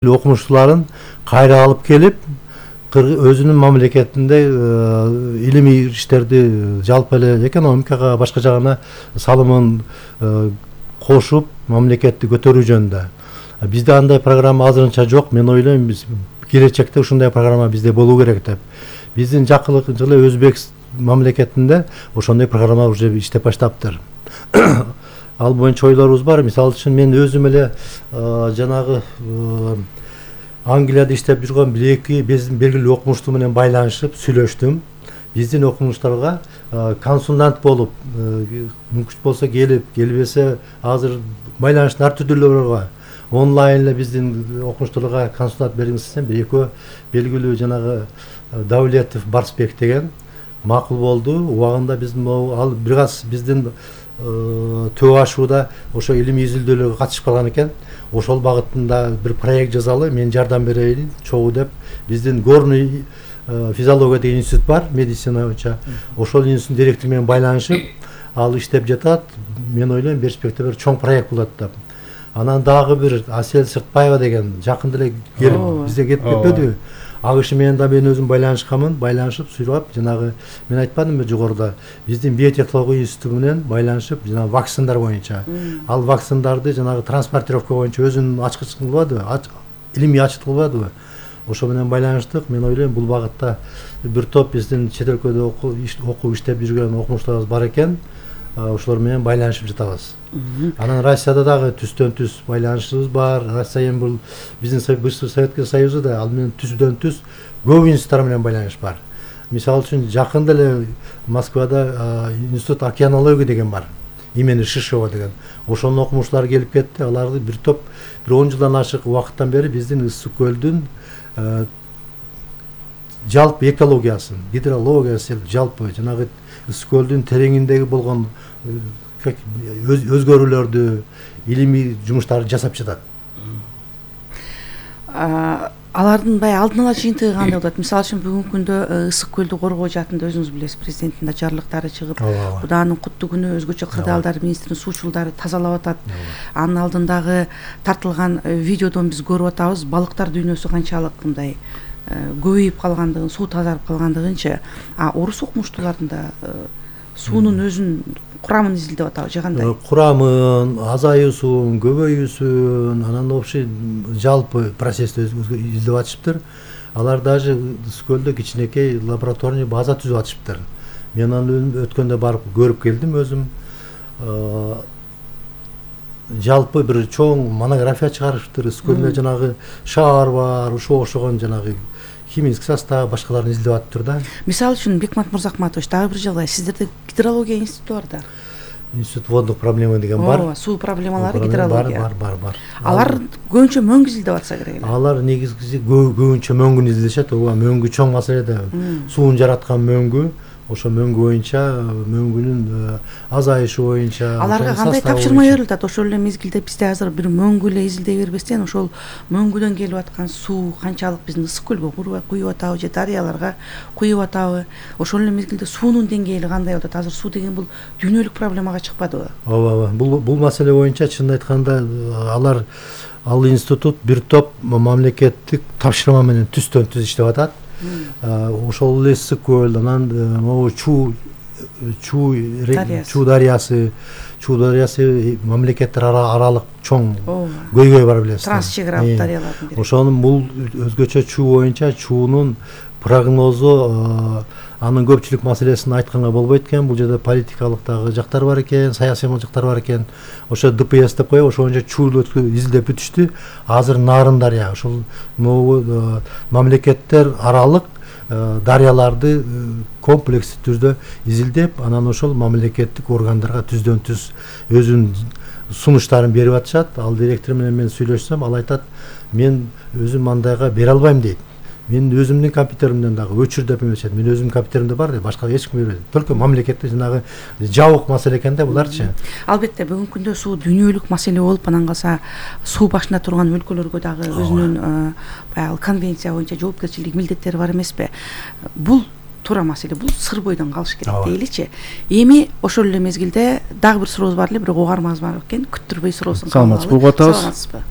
окумуштууларын кайра алып келип өзүнүн мамлекетинде илимий иштерди жалпы эле экономикага башка жагына салымын кошуп мамлекетти көтөрүү жөнүндө. Бизде андай программа азырынча жок. Мен ойлойм, биз келечекте ушундай программа бизде болуу керек деп. Биздин жакынкы жылы Өзбек мамлекетинде ошондой программа уже иштеп баштаптыр. Ал боюнча ойлорубуз бар. Мисалы үчүн мен өзүм эле жанагы Англияда иштеп жүргөн бир-эки биздин белгилүү окумуштуу менен байланышып сүйлөштүм. Биздин окумуштарга консультант болуп, мүмкүн болсо келип, келбесе азыр байланыштын ар түрдүүлөрү бар. Онлайн эле биздин окумуштууларга консультант бериңиз десем, бир-экөө белгилүү жанагы Давлетов Барсбек деген макул болду. Убагында биздин ал бир аз биздин төө ашууда ошо илимий изилдөөлөргө катышып калган экен. Ошол багытында бир проект жазалы, мен жардам берейин, чогуу деп. Биздин горный физиология деген институт бар, медицина боюнча. Ошол институттун директору менен байланышып, ал иштеп жатат. Мен ойлойм, перспективада чоң проект болот деп. Анан дагы бир Асел Сыртбаева деген жакында эле келип бизге кетип кетпедиби? Ал киши менен да мен өзүм байланышканмын, байланышып сурап, жанагы мен айтпадымбы жогоруда, биздин биотехнология институту менен байланышып, жанагы вакциндар боюнча. Ал вакциндарды жанагы транспортировка боюнча өзүнүн ачкычын кылбадыбы, илимий ачыт кылбадыбы? Ошо менен байланыштык. Мен ойлойм, бул багытта бир топ биздин чет өлкөдө окуп иштеп жүргөн окумуштууларыбыз бар экен. Ошолор менен байланышып жатабыз. Анан Россияда дагы түстөн-түз байланышыбыз бар. Россия эми бул биздин бывший Советский Союзда ал менен түздөн-түз көп институттар менен байланыш бар. Мисалы үчүн жакында эле Москвада институт океанология деген бар. Имени Шишова деген. Ошонун окумуштуулары келип кетти. Аларды бир топ 10 жылдан ашык убакыттан бери биздин Ысык көлдүн жалпы экологиясын, гидрологиясын, жалпы жанагы Ысык көлдүн тереңиндеги болгон өзгөрүүлөрдү, илимий жумуштарды жасап жатат. Алардын алдын ала жыйынтыгы кандай болот? Мисалы үчүн бүгүнкү күндө Ысык көлдү коргоо жаатында өзүңүз билесиз, президенттин да жарлыктары чыгып, Кудаанын куттуу күнү өзгөчө кырдаалдар министринин суучулдары тазалап атат. Анын алдындагы тартылган видеодон биз көрүп атабыз, балыктар дүйнөсү канчалык мындай көбөйүп калгандыгын, суу тазарып калгандыгынчы. Орус окумуштууларында суунун өзүнүн курамын изилдеп атабы же кандай? Курамын, азаюусун, көбөйүүсүн, анан вообще жалпы процессти изилдеп атышыптыр. Алар даже Ысык көлдө кичинекей лабораторный база түзүп атышыптыр. Мен аны өткөндө барып көрүп келдим өзүм. Жалпы бир чоң монография чыгарышыптыр. Ысык көлдө жанагы шаар бар, ошого окшогон жанагы химический состав, башкаларын изилдеп атыптыр да. Мисалы үчүн Бекмат Мырзахматович, дагы бир жагдай, сиздерде гидрология институту бар да. Институт водных проблема деген бар. Суу проблемалары, гидрология. Бар. Алар көбүнчө мөңгү изилдеп атса керек эле. Алар негизгиси көбүнчө мөңгүнү изилдешет. Ооба, мөңгү чоң маселе да. Суун жараткан мөңгү. Ошо мөңгү боюнча, мөңгүнүн азайышы боюнча. Аларга кандай тапшырма берилет? Ошол эле мезгилде бизде азыр бир мөңгү эле изилдей бербестен, ошол мөңгүдөн келип аткан суу канчалык биздин Ысык көлгө куюп атабы же дарыяларга куюп атабы? Ошол эле мезгилде суунун деңгээли кандай болот? Азыр суу деген бул дүйнөлүк проблемага чыкпадыбы? Ооба. Бул маселе боюнча чынын айтканда ал институт бир топ мамлекеттик тапшырма менен түстөн-түз иштеп атат. Ошол эле Ысык көл, анан могу Чуу дарыясы мамлекеттер аралык чоң көйгөй бар, билесиз. Трансчегаралык дарыялардын бири. Ошонун бул өзгөчө Чуу боюнча Чуунун прогнозу, анын көпчүлүк маселесин айтканга болбойт экен. Бул жерде политикалык дагы жактар бар экен, саясий жактар бар экен. Ошо ДПС деп коебу, ошо боюнча Чууну изилдеп бүтүштү. Азыр Нарын дарыя, ошол мамлекеттер аралык дарыяларды комплекстүү түрдө изилдеп, анан ошол мамлекеттик органдарга түздөн-түз өзүнүн сунуштарын берип атышат. Ал директор менен мен сүйлөшсөм, ал айтат, мен өзүм мандайга бере албайм дейт. Мен өзүмдүн компьютеримден дагы өчүрдөп эмесет. Мен өзүмдүн компьютеримде бар дейт, башка эч ким бербейт. Только мамлекетте жанагы жабык маселе экен да буларчы. Албетте бүгүнкү күндө суу дүйнөлүк маселе болуп, анан калса суу башында турган өлкөлөргө дагы өзүнүн баягы конвенция боюнча жоопкерчилик, милдеттери бар эмеспи? Бул туура маселе, бул сыр бойдон калыш керек дейличи. Эми ошол эле мезгилде дагы бир сурообуз бар эле, бирок угармабыз бар экен. Күттүрбөй суроосун кабыл алып. Саламатсызбы?